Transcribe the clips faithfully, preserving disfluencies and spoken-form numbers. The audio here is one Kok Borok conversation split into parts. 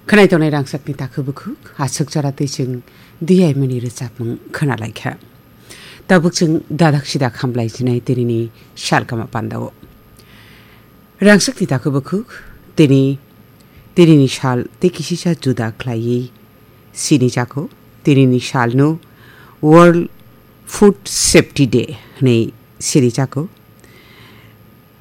Khwnai tongnai rangchakni takhuk bukhuk, aswk jora twi chwng diyaimani rwchapmung khwnalaikha. Tabuk chwng dadak sidak hamlaijinai tinini salkama pandao. Rangchakni takhuk bukhuk, tini, tinini sal tei kisisa juda khlaiwi sinijago. Tinini salno World Food Safety Day hwnwi sinijago.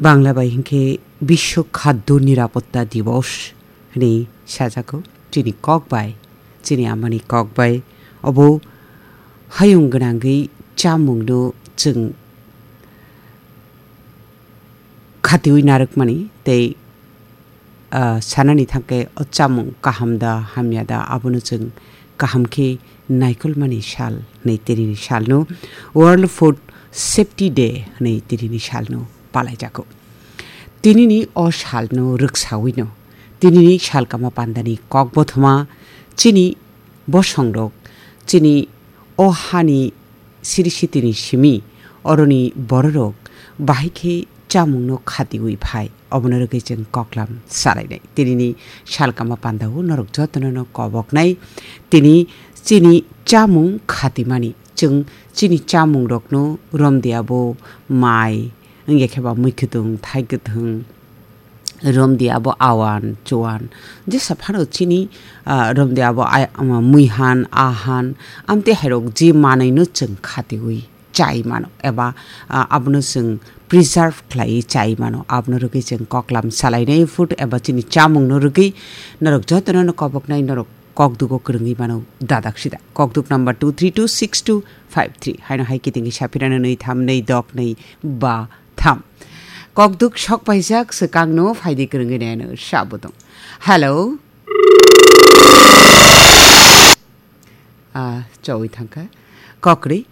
Bangla bai hinkhe Biswa Khaddo Nirapotta Divos hwnwi sajago. Chini kok bai, chini amani kok bai, obo hayung gwnangwi chamungno chwng khatiwi narwkmani tei, ah, sanani thangkhe o chamung kaham da hamya da abono chwng kaham khe naikolmani sal hwnwi tinini salno World Food Safety Day hwnwi tinini salno palaijago. Tinini o salno rwksawino, tinini salkama pandani kokbothoma chini bosongrok, chini o hani siri sitini simi oroni bororok bahai khe chamungno khatiwi phai, obono rwgwi chwng koklam salainai. Tinini salkama pandao norok jotono no koboknai, tini chini chamung khatimani. Chwng chini chamungrokno romdi abo mai, wngya khe ba mui kwthwng, thai kwthwng, romdi abo awan, chuan. Jesa phano chini, ah, romdi abo ai-, ama muihan, ahan, amtwi hairok je manwino chwng khatiwi chai mano, eba, ah, abono chwng preserve khlaiwi chai mano. Abono rwgwi chwng koklam salainai food eba chini chamungno rwgwi norok jotono no koboknai, norok kokdugo kwrwngwi mano dadak sida. Kokduk number two three two six two five three. Haino hai kitingwi saphirano nwi tham nwi dok nwi ba tham. Kokduk sok paijak swkangno phaidi kwrwngwi naino sabo tong. Hello. Ah, chowi thangkha. Kokri,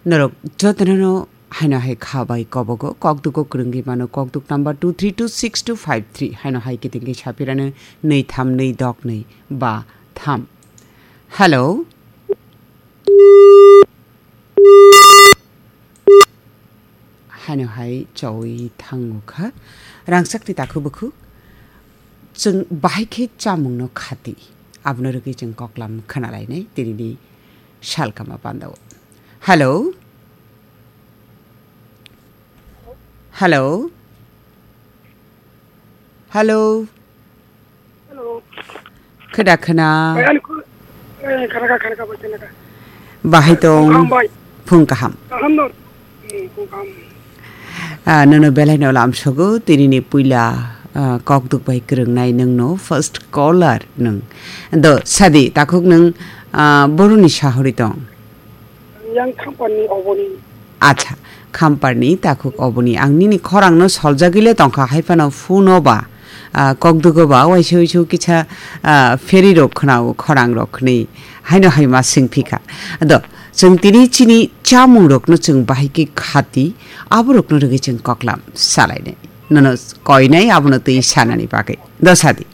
norok jotono no haino hai kha bai kobogo, kokdugo kwrwngwi mano, kokduk number two three two six two five three, haino hai kitingwi saphirano nwi tham nwi dok nwi ba tham. Hello. Haino hai chowi thango kha. Rangchakni takhuk bukhuk. Chwng bahai khe chamungno khati. Abono rwgwi chwng koklam khwnalainai tinini salkama pandao. Hello? Hello? Hello? Hello. Kheda khena. Bai, ani khu-, eh, khana kha, khana kha, bai, khana kha. Bahai tong. Phung kaham bai. Phung kaham. Kaham no. Hmm, phung kaham. Ah, nono belai no lam sogo, tini ni puila, ah, kokduk bai kwrwng nai nwng no first caller nwng. Do, sadi, takhuk nwng, ah, boroni sahori tong. Yang Khamparni oboni. Acha, Khamparni takhuk oboni. Ang nini khorangno soljagwi le tongkha, hai phano phone o ba, ah, kokdugo ba, waisa waisa kisa, ah, pheri rok khwnao, khorang rok khwnwi. Haino hai ma swng phikha. Do, chwng tini chini chamung rokno chwng bahai khe khati, abo rokno rwgwi chwng koklam salainai. Nono koinai abono twi sanani bagwi. Do sadi.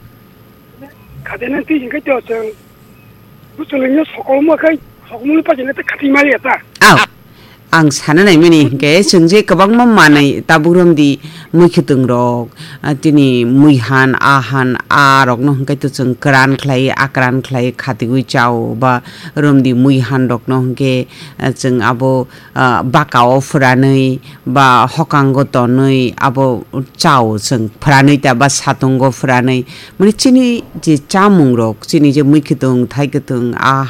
Khadena twi hingke to chwng. Buchulungno sokolmo khai, sokolmoni pajina te khating mali eta. Aw. Ang sana naimani hingke chwng je kwbangma manwi tabuk romdi mui khwtwng rok, ah, tini mui han, a han, a rokno hingke to chwng kwran khlai, a kwran khlai khatigwi chao ba romdi mui han rokno hingke, ah, chwng abo ah, baka o phwranwi ba hokango tonwi abo chao chwng phwranwi ta ba satungo phwranwi. Mani chini je chamung rok, chini je mui kwtwng, thai kwtwng, a